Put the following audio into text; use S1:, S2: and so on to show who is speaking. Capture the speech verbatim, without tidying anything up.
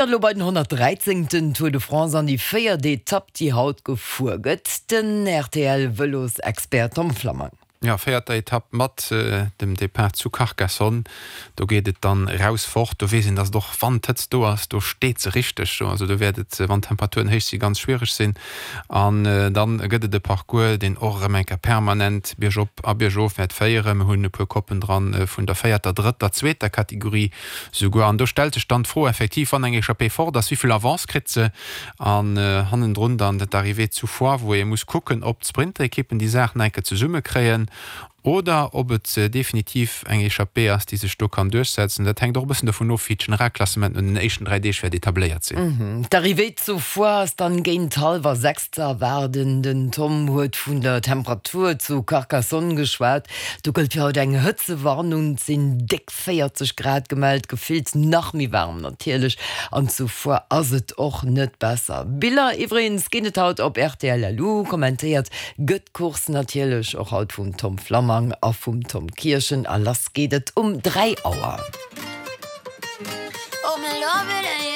S1: Elo bei den honnertdräizéngten Tour de France an déi véiert Etapp, déi haut gefuer gëtt. Den R T L-Vëlosexpert Tom Flammang.
S2: Ja, véierter Etapp mat dem Depart zu Carcassonne. Do geet et dann raus fort. Do weess een, dass et och, wann d'Hëtzt do ass, do steet se richteg do. Also do wäert et, wann d'Temperaturen héich sinn, ganz schwiereg sinn. An dann gëtt et e Parcours, deen och erëm eng Kéier permanent biergop a biergof wäert féieren. Mir hunn e puer Koppen dran vun der véierter, drëtter, zweeter Kategorie souguer. An do stellt sech dann d'Fro effektiv, wann eng Echappée fort ass, wéi vill Avance kritt se? An hannendrun dann d'Arrivée zu Foix, wou ee muss kucken, ob d'Sprinterekippen déi Saach nach eng Kéier zesummekréien oder ob et definitiv eng Echappée ass, déi sech do kann duerchsetzen. Dat hänkt och e bëssen dovun of, wéi d'Generalklassement no den éischten dräi Deeg wäert etabléiert
S1: sinn. D'Arrivée zu Foix ass dann géint hallwer sechs ze erwaarden. Den Tom huet vun der Temperatur zu Carcassonne geschwat. Do gëllt fir haut eng Hëtzewarnung, et sinn déck véierzeg Grad gemellt, gefillt nach méi waarm natierlech. An zu Foix ass et och net besser. Biller iwwregens ginn et haut op R T L L U. Kommentéiert gëtt d'Course natierlech och haut vum Tom Flammang a vum Tom Kirchen a lass geet et um dräi Auer.
S3: Oh, me love it.